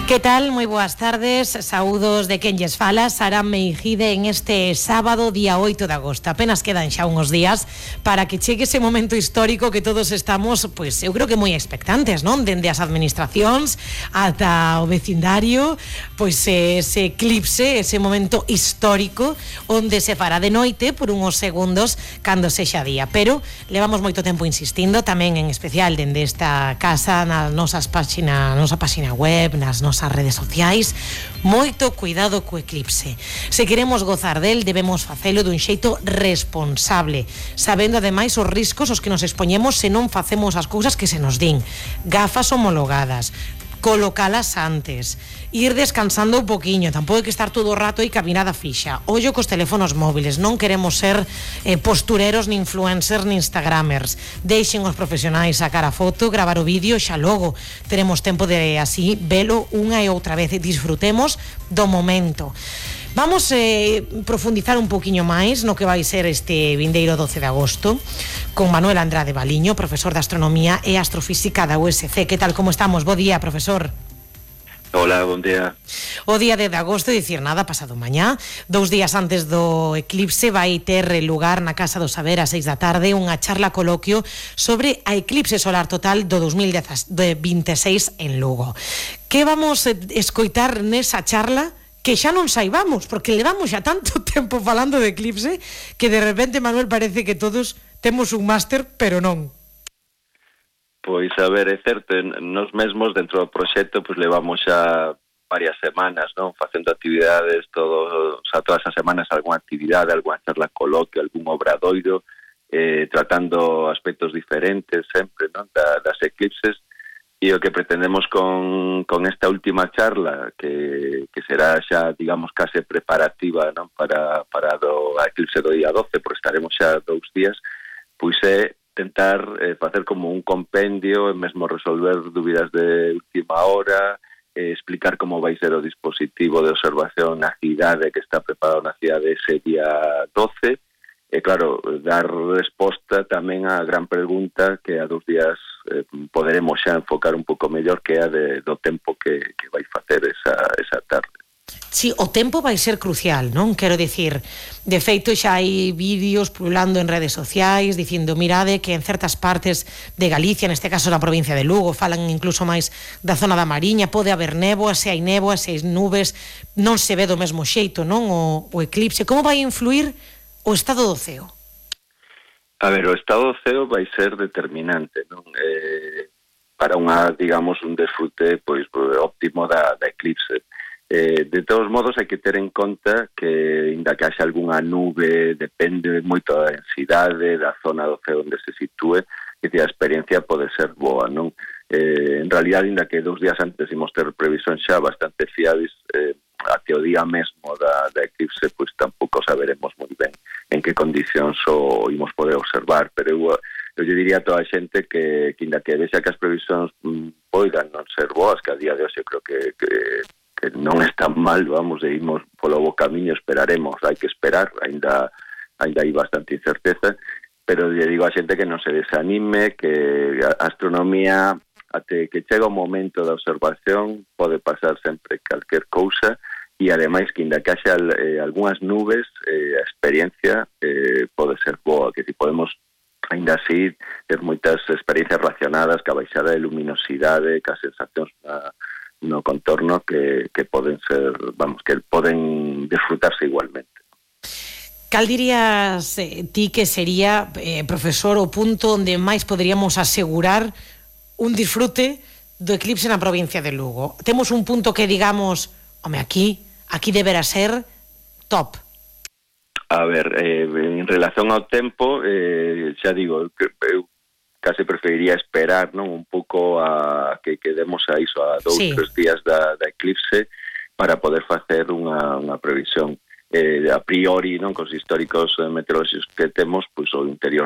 Que tal? Moi boas tardes, saúdos de quen lles fala, Sara Meijide, en este sábado, día 8 de agosto. Apenas quedan xa uns días para que chegue ese momento histórico que todos estamos, pois, eu creo que moi expectantes, non? Dende as administracións ata o vecindario, pois ese eclipse, ese momento histórico onde se fará de noite por uns segundos cando sexa día. Pero levamos moito tempo insistindo, tamén en especial dende esta casa, na nosa página web, nas nosas redes sociais, moito cuidado co eclipse. Se queremos gozar del, debemos facelo dun xeito responsable, sabendo ademais os riscos aos que nos expoñemos se non facemos as cousas que se nos din. Gafas homologadas, colocalas antes, ir descansando un poquinho, tampouco hai que estar todo o rato aí cabinada fixa. Ollo cos teléfonos móviles, non queremos ser postureros, ni influencers, ni instagramers. Deixen os profesionais sacar a foto, gravar o vídeo, xa logo teremos tempo de así velo unha e outra vez e disfrutemos do momento. Vamos profundizar un poquinho máis no que vai ser este vindeiro 12 de agosto con Manuel Andrade Baliño, profesor de Astronomía e Astrofísica da USC. Que tal, como estamos? Bo día, profesor. Hola, bon día. O día de agosto, dicir nada, pasado mañá, 2 días antes do eclipse, vai ter lugar na Casa do Saber a 6 da tarde unha charla coloquio sobre a eclipse solar total do 2026 en Lugo. Que vamos escoitar nesa charla? Que xa non saibamos, porque levamos xa tanto tempo falando de eclipse que de repente, Manuel, parece que todos temos un máster, pero non. Pois, a ver, é certo, nos mesmos dentro do proxecto pois levamos xa varias semanas, non? Facendo actividades todas as semanas, algunha actividade, algunha charla coloquio, algún obradoiro, tratando aspectos diferentes sempre, non? Das eclipses. E o que pretendemos con esta última charla, que será xa, digamos, case preparativa, non? para a eclipse do día 12, porque estaremos xa 2 días, pois é tentar facer como un compendio e mesmo resolver dúbidas de última hora, explicar como vai ser o dispositivo de observación na cidade que está preparado na cidade ese día 12, e claro, dar resposta tamén á gran pregunta que a 2 días poderemos xa enfocar un pouco mellor, que é a do tempo que vai facer esa tarde. Sí, o tempo vai ser crucial, non? Quero dicir, de feito xa hai vídeos pululando en redes sociais dicindo, mirade que en certas partes de Galicia, neste caso na provincia de Lugo, falan incluso máis da zona da Mariña, pode haber néboa, se hai néboa, se hai nubes, non se ve do mesmo xeito, non? O eclipse, como vai influir o estado do ceo? A ver, o estado do ceo vai ser determinante, non? Para digamos, un desfrute pois óptimo da eclipse. De todos modos, hai que ter en conta que, inda que haxa algunha nube, depende moito da densidade, da zona do ceo onde se sitúe, que a experiencia pode ser boa, non? En realidad, inda que 2 días antes imos ter previsión xa bastante fiables, até o día mesmo da eclipse, pois tampouco saberemos moi ben en que condicións o imos poder observar, pero eu diría a toda a xente que inda que vexa que as previsións poidan non ser boas, que a día de hoxe creo que non están mal, vamos, e imos polo bo camiño, esperaremos, hai que esperar, ainda hai bastante incerteza, pero lle digo a xente que non se desanime, que a astronomía, até que chega o momento da observación, pode pasar sempre calquer cousa, e ademais que inda que haxa algunhas nubes, a experiencia pode ser boa, que si podemos ainda así ter moitas experiencias relacionadas ca baixada de luminosidade, ca sensacións no contorno que poden ser, vamos, que poden disfrutarse igualmente. Cal dirías ti que sería, profesor, o punto onde máis poderíamos asegurar un disfrute do eclipse na provincia de Lugo? Temos un punto que digamos, home, aquí deberá ser top. A ver, en relación ao tempo, xa digo, eu case preferiría esperar, non, un pouco a que quedemos a iso, a 2-3 días da eclipse para poder facer unha previsión. A priori, non, cos históricos meteorolóxicos que temos, pois o interior